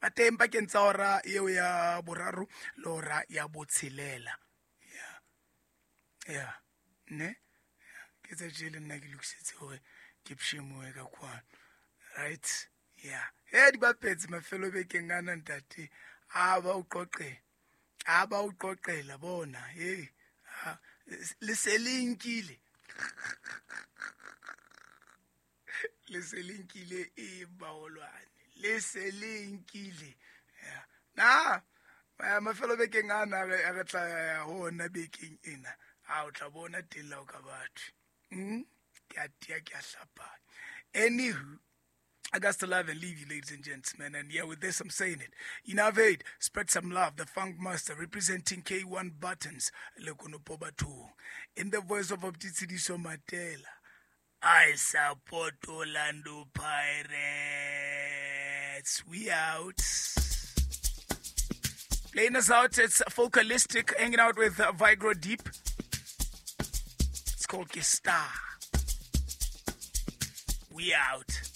Ba teng pakeng tsa hora eo ya boraro le hora ya botshelela. Yeah. Ne? Ke tsa tje le nna ke lokisetse hore ke pshemoe ka kwano. Right? Yeah. He di bapetse mafelo bekeng ana ntate. A ba o qoqela. A ba o qoqela bona. Hey. Le se le nkile. Le se le nkile e baolwane. Le se le nkile. Yeah. Na mafelo bekeng ana re tla ya ho ona bekeng ena. A o tla bona teng la o ka batho. Ke a tia, ke a hlapanya. Anywho, I got to love and leave you, ladies and gentlemen. And yeah, with this, I'm saying it. Innovate, spread some love. The Funk Master representing K1 Buttons, Lekonopo Batho. In the voice of Optitsediso Matela, I support Orlando Pirates. We out. Playing us out, it's Focalistic, hanging out with Vigro Deep. It's called Star. We out.